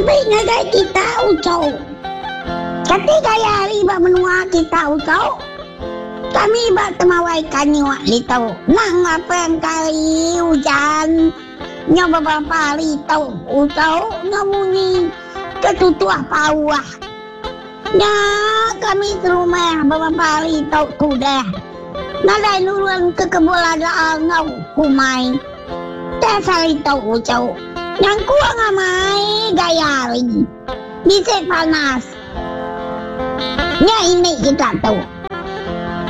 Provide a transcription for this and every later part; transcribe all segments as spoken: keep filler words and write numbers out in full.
Tabi ngagai kita uchu. Kati gaya hari ba menua kita uchu? Kami ba Temawai Kanyuk ditu nang ngapang ke hari ujan nyau beberapa hari tu uchu enggau munyi ke tutuh pauh. Nya kami serumah beberapa hari tu ke udah nadai nurun ke kebun lada enggau kumai. Tang sehari tu uchu nyangkung amai gaya hari bisi panas. Nya ini kita tu.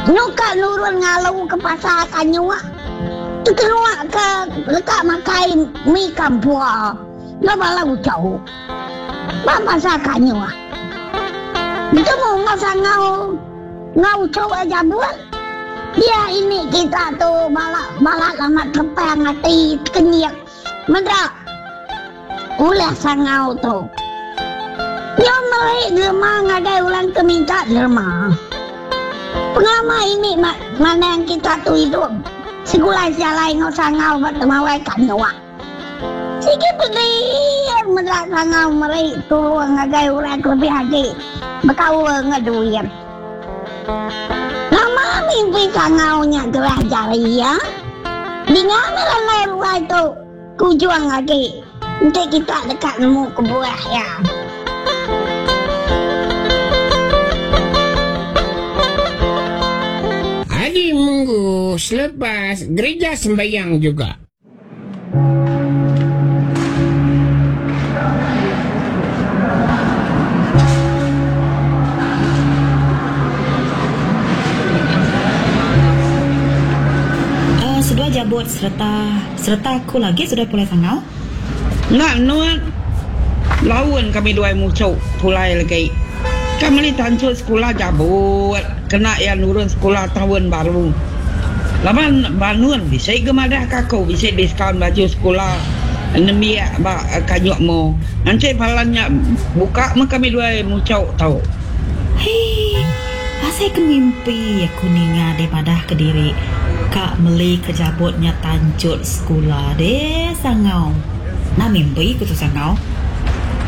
Nyuka nurun ngalu ke pasar Kanyuk tekenuak ke deka makai mi kampua enggau bala uchu ba pasar Kanyuk. Betemu enggau sangau enggau uchu iya jabut. Dia ini kita tu bala balat amat kepang ati tekenyit meda ulih sangau tu. Nyau meri derma ngagai orang ke minta derma. Pengelama ini manang kita tu idup segulai sejalai enggau sangau ba temawai kanyuk. Sigi pedih meda sangau meri tulung ngagai orang ke lebih agi bekaul enggau duit. Nama mimpi sangau nya gerah jari iya? Dinga meh lalai ruai tu. Kujung agi enti kita deka nemu kebuah iya. Hari minggu selepas gereja sembahyang juga. Seduai jabut sereta Sereta aku lagi sudah pulai sangau. Enda nuan laun kami duai muchuk pulai legi. Ka meli tanchut sekula jabut kena iya nurun sekula taun baru. Laban ba nun bisi ga madah ka aku bisi diskaun baju sekula nembiak ba Kanyuk Mo. Enti palan nya buka meh kami duai muchuk tu. Hii, asai ke mimpi aku ninga deh madah kediri ka meli ke jabut nya tanchut sekula deh sangau. Nah mimpi ku tu sangau.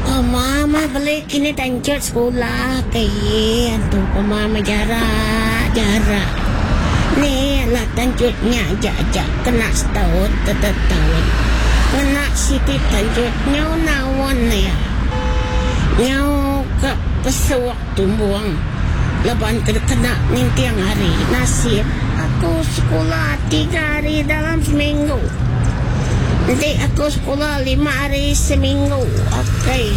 Pama mah beli kini tanchut sekula ke iya antu pama mah jarak jarak ni lah tanchut nya aja aja kena setaun tetetaun ngena siti tanchut nyau naun iya nyau ka pesuk. Tumbung laban ke kena ninting hari nasib aku sekula tiga hari dalam seminggu. Enti aku sekula lima hari seminggu akai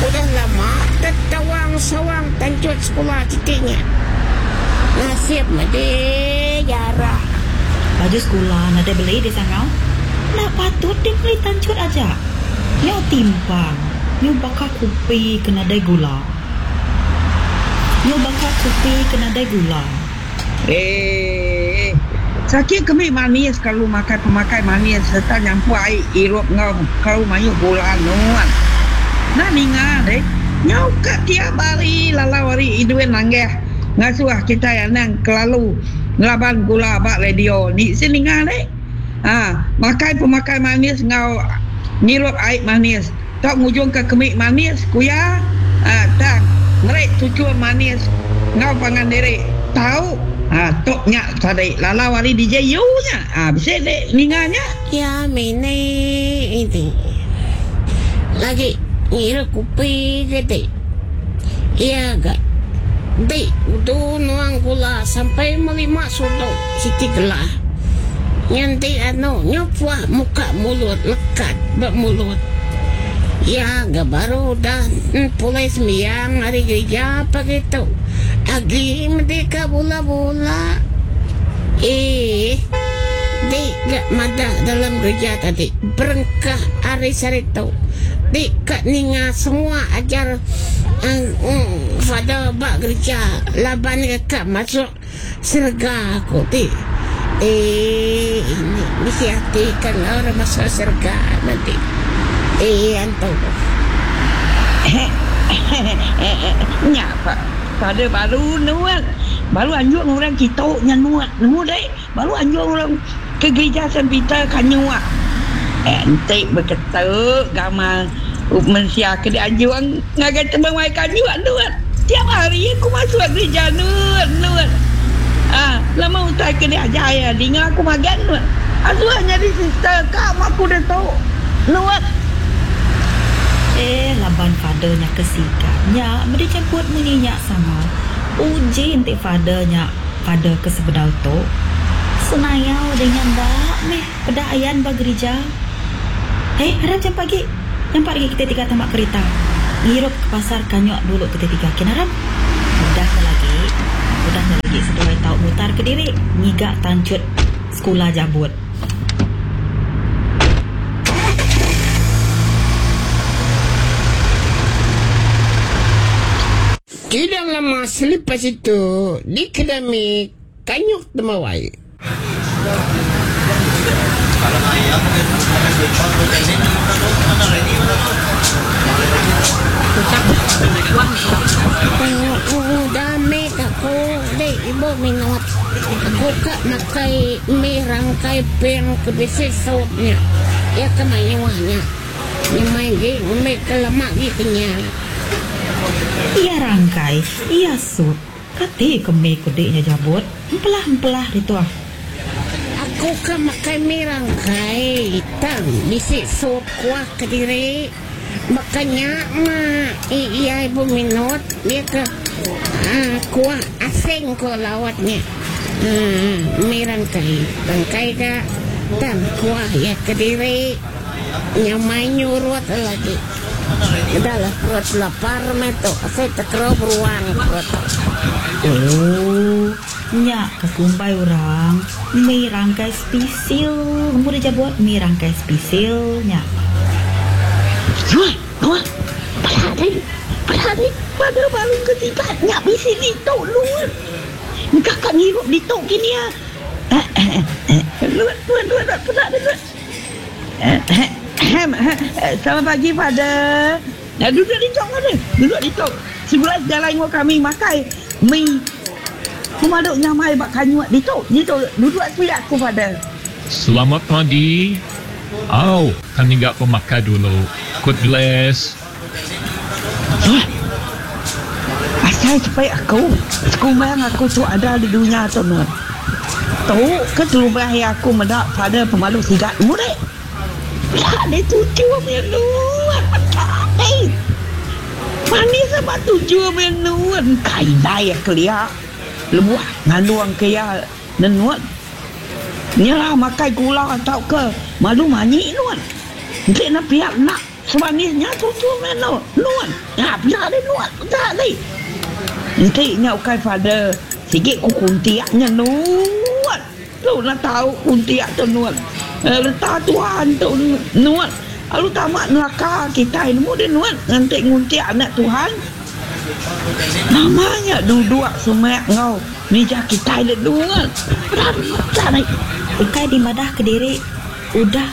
udah lama tetawang sawang tanchut sekula siti nya. Nasib madi jarak. Baju sekula nadai beli di sangau enda patut di beli tanchut aja. Nyau timpang. Nyu baka kupi ke nadai gula. Nyu baka kupi ke nadai gula. Eeh. Sakit kemi manis kelalu makai pemakai manis sereta nyampur ai irup enggau kelalu mayuh gula nuan. Enda ninga deh. Nyau ka tiap hari lalau ari Edwin Langgah ngasuh kitai anang kelalu ngelaban gula ba radio ni seh ninga deh. Ha, makai pemakai manis enggau ngirup ai manis tau ngujungka kemi manis, ku iya. Ha, tang meri tuchum manis enggau pangan diri tau. Ha, tu nya tadi lalau ari D J U nya. Ha, bisi dek ninga nya. Ya mini iti lagi ngirup kopi ke ti. Iya ga dek udu nuang gula sampai melima sudok siti gelah. Nganti anu nyu puah muka mulut lekat ba mulut. Iya ga baru udah pulai sembiang ari gerija pagi tu. Agi medi ka bula-bula. Eeh di ga madah dalam gerija tadi berengkah ari saritu di ka ninga semua ajar Father ba gerija laban ga ka masuk Serega ku ti eii ini bisi ati ka enggau orang masuk serega nanti eii antu. Nya pa pada baru nuan baru anjung orang kitu nya nuan nemu deh baru anjung orang ke gerija Saint Peter kanyuk enti beketu gamal Mensia ke dianjung ngagai temawai kanyuk nuan. Tiap hari aku masuk gereja nuan nuan. Ah, lama utai ke diajar iya dinga aku magang nuan. Asuh nyadi sister ka meh aku ditu nuan. Eh laban father nya ke sigat nya meda jemput munyi nya sama. Uji enti father nya father ke sebedau tu. Senayau deh nya enda meh peda ayan ba gerija. Hei aram jam pagi. Nyampat agi kitai tiga tama kerita. Ngirup ke pasar kanyuk dulu kitai tiga kin aram. Udah nya lagi, udah nya lagi seduai tau mutar kediri ngiga tanchut sekula jabut. Tidak lama selepas itu, di kedai mi Kanyuk Temawai. Udah meh aku deh ibu minut. Aku ka makai mi rangkai ping ke bisi sup nya. Iya ke mayuh nya. Nyamai agi ngambi ke lama agi kenyang. Iya rangkai, iya sup. Kati ke mi ku dik nya jabut, empelah-empelah ditu ah. Aku ka makai mi rangkai tang bisi sup kuah kediri. Baka nya mah iya ibu minut dia ke kuah asing ko lawat nya. Mi rangkai, rangkai ga tang kuah iya kediri. Nyamai nyurut lagi. Udah lah perut lapar meh tu. Asai tekerau beruang perut. Oh, nya ke kumbai orang mi rangkai spisil. Nemu deh jabut mi rangkai spisil nya. Nuh, nuh, peda deh, peda deh, pada baru ke sigat nya bisi ditu nuh. Engka ka ngirup ditu kini ah. Nuh, nuh, nuh, peda deh nuh. Selamat pagi father. Duduk ditu father, duduk ditu. Sebelah sejalai enggau kami makai mi pemadu nyamai ba kanyut ditu. Ditu duduk sepiak aku father. Selamat pagi. Au, ka ngiga pemakai dulu. God bless. Asai sepi aku, sekumbang aku tu ada di dunya tu nuan. Tu ke terubah iya aku meda father pemalu sigat mudik. Peda deh tuju meh nuan meda deh. Manis amat tuju meh nuan kai indai iya kelia lebuh ngandung ke iya nenut. Nyerah makai gula tauka madu manyi nuan. Enti ne pia enda semanis nya tuju meh nuan. Nya peda deh nuan meda deh. Enti nya ukai father sigi ku kuntik nya nuan. Tu enda tau kuntik tu nuan. Reta Tuhan tu nuan. Lalu tama neraka kitai nemu deh nuan nganti nguntik anak Tuhan. Nama nya duduk semak enggau mija kitai deh nuan. Peda peda deh. Ukai dimadah kediri udah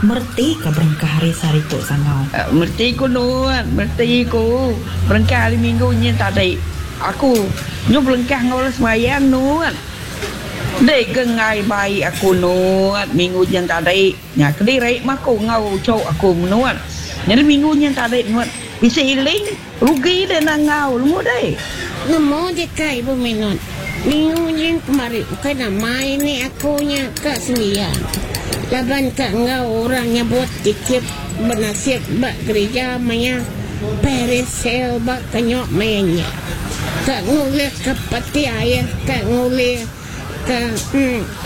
Mereti ka berengkah hari sehari tu sangau. Mereti ku nuan, mereti ku. Berengkah hari minggu nyin tadi. Aku nyu berengkah enggau orang sembahyang nuan. Dei ke enggai bai aku nuan minggu nyin tadi. Nya kediri mah aku enggau uchu aku menuan. Nyadi minggu nyin tadi nuan bisi iling rugi deh enda enggau nemu dei. Nemu deka ibu minut. Minggu nyin kemari ukai nama ini aku nya ka sembiang laban ka enggau orang nyebut tikit benasib ba gerija maya Paris sale ba kenyok maya nya. Ka ngulih ka peti air ka ngulih ka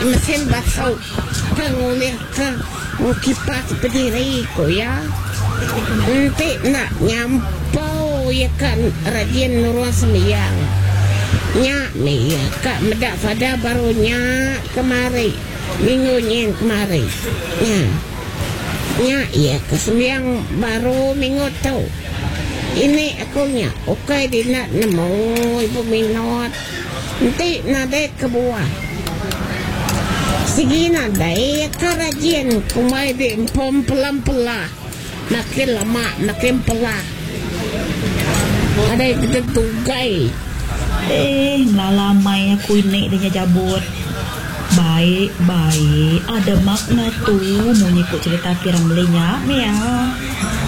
mesin basu ka ngulih ka kipas bediri ku iya. Enti enda nyampau iya ka rajin nurung sembiang. Nya mih iya ka meda fada baru nya kemari minggu nyin kemari. Nya. Nya iya ka sembiang baru minggu tu. Ini aku nya ukai dina nemu ibu minut. Enti nadai kebuah. Sigi nadai ka rajin kumbai di empom pelah-pelah. Makin lama makin pelah. Nadai kita tugai. Eh ngelala mai aku ini deh nya jabut. Baik baik ada makna tu munyi ku cerita P. Ramlee nya meh ya.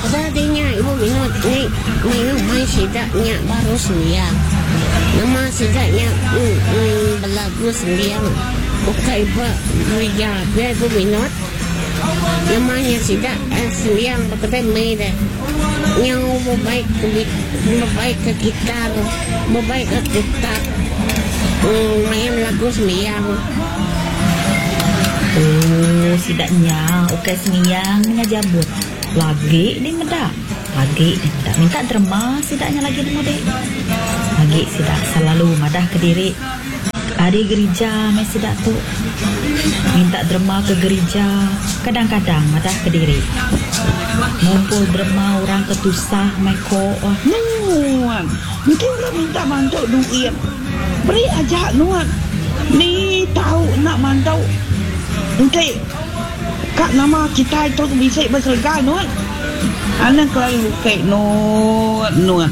Udah deh nya ibu minut ni mayuh mai sida nya baru sembiang. Nama sida nya mm, mm, belagu sembiang ukai ba gerija pia ibu minut. Nama nya sida eh, sembiang ba kedai mi deh. Nyau bebai ke bebai ke gitar, bebai ke kutak. Mm, main lagu sembiang. Oh, sida nya ukai sembiang nya jabut. Lagi di meda. Lagi di meda. Minta derma sida nya lagi nemu dek. Lagi sida selalu madah ke diri. Ari gereja mai sida tu. Minta derma ke gereja. Kadang-kadang madah ke diri. Ngumpul derma orang ke tusah mai ko. Wah. Nuan. Mungkin orang minta mantu duit. Beri aja nuan. Ni tahu nak mantu. Nanti kak nama kita itu bisa berserga nuan. Anak kelalu lukek nuan nuan.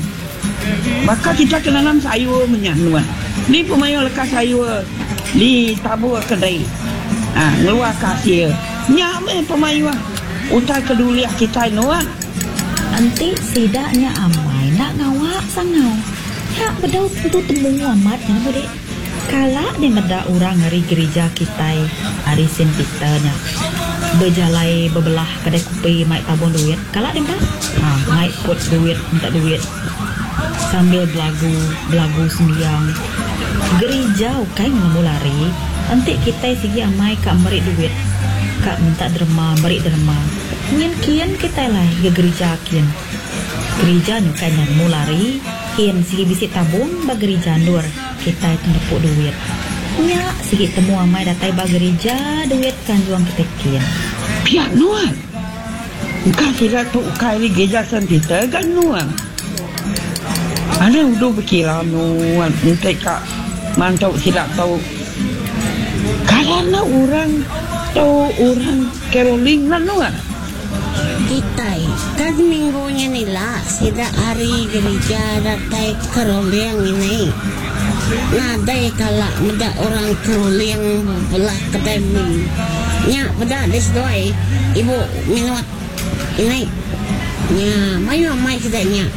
Maka kita kena nanam sayur menyak nuan. Ni pemayu lekas sayur di tabur kedai. Ah, ngeluar kasir. Nyak meh pemayu utai keduliah kita nuan. Nanti sidaknya amai nak ngawak sangau. Ya bedau tentu temu amat ya bude. Kala ni meda orang hari gereja kita hari Saint Peter nya. Berjalai berbelah kedai kopi mai tabung duit. Kala ni meda? Ha, mai put duit, minta duit. Sambil belagu, belagu sembiang. Gereja ukai nemu lari. Nanti kita sigi amai kak meri duit. Kak minta derma, meri derma. Ngin kian kita lah ke gereja kian. Gereja ni kan nemu lari. Kian sigi bisi tabung ba gereja ndur. Kita itu nepuk duit. Nya sigi temu amai datai ba gereja duit kan juang kita kian. Pihak nuan. Engkau tidak tu ukai di gereja Saint Peter kan nuan. Ada udah berkira nuan. Nanti kak mantau tidak tahu. Karena orang tahu orang caroling lah nuan. Kita kan minggunya nila sida hari gereja datai keroling ini. Nadai kala meda orang keroling belah kedai mi. Nya peda desdoi ibu minut ini. Nya mayu mai kedainya.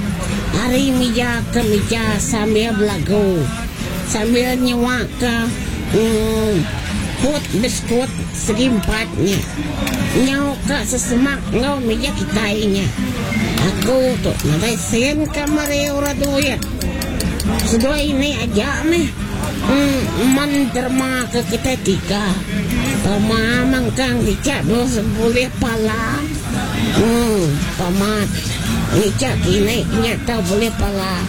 Hari meja ke meja sambil belagu. Sambil nyewa ke mm, put biskut segi empatnya. Nyau ke sesemak ngau meja kita nya. Aku tu nadai sen kamar orang duit. Sedua ini aja meh. Mm, menderma ke kita tiga. Pama mangkang dicak boleh pala. Hmm, pamat. Ngicak kini nyata boleh pala.